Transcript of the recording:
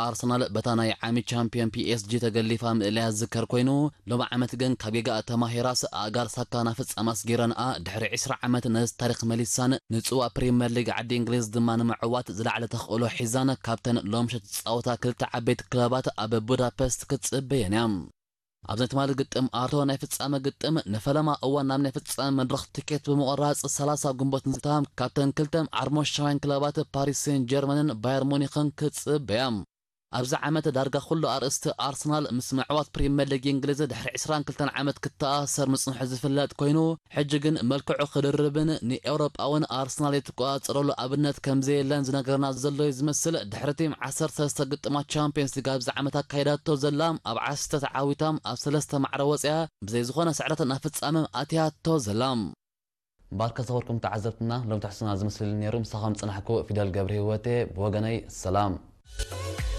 ኣርሰናል በታ ናይ ዓሚ ቻምፒዮን ፒ ኤስ ጂ ተገሊፋ ምእለያ ዝዝከር ኮይኑ፣ ሎሚ ዓመት ግን ካብ ጌጋኣ ተማሂራስ ኣእጋር ሳካ ናብ ፍጻመ ኣስጊረንኣ ድሕሪ ዕስራ ዓመት ነዚ ታሪኽ መሊሳን ንጽዋ ፕሪምየር ሊግ ዓዲ እንግሊዝ ድማ ንምዕዋት ዝለዓለ ተኽእሎ ሒዛን ካብተን ሎምሸት ዝጻወታ ክልተ ዓበይቲ ክለባት ኣብ ቡዳፐስት ክትጽበየን እያ። ኣብዚ ናይ ትማሊ ግጥም ኣርቶ ናይ ፍጻመ ግጥም ንፈለማ እዋን ናብ ናይ ፍጻመ መድረኽ ትኬት ብምቑራጽ ሰላሳ ግንቦት ንዝታ ካብተን ክልተ ዓርሞሻውያን ክለባት ፓሪስ ሴን ጀርመንን ባየር ሙኒኽን ክትጽበያ። ኣብዚ ዓመት ዳርጋ ኩሉ ኣርእስቲ ኣርሰናል ምስ ምዕዋት ፕሪምየር ሊግ እንግሊዝ ድሕሪ ዕስራን ክልተን ዓመት ክተኣሳሰር ምጽንሑ ዝፍለጥ ኮይኑ፣ ሕጂ ግን መልክዑ ክድርብን ንኤውሮጳውን ኣርሰናል ይትቆጻጸረሉ ኣብነት ከም ዘየለን ዝነገረና ዘሎ እዩ ዝመስል። ድሕሪ ቲም ዓሰርተ ሰለስተ ግጥማት ቻምፒየንስ ሊግ ኣብዚ ዓመት ኣካይዳቶ ዘላ፣ ኣብ ዓሰርተ ተዓዊታ ኣብ ሰለስተ ማዕረ ወጽያ ብዘይ ዝኾነ ስዕረት ናብ ፍጻመ ኣትያቶ ዘላ። ባርከ ዝኸበርኩም ተዓዘብትና፣ ሎም ትሕዝቶና ዝመስል ነይሩ። ምሳኹም ዝጸናሕኩ ፊደል ገብረ ህይወቴ፣ ብወገነይ ሰላም።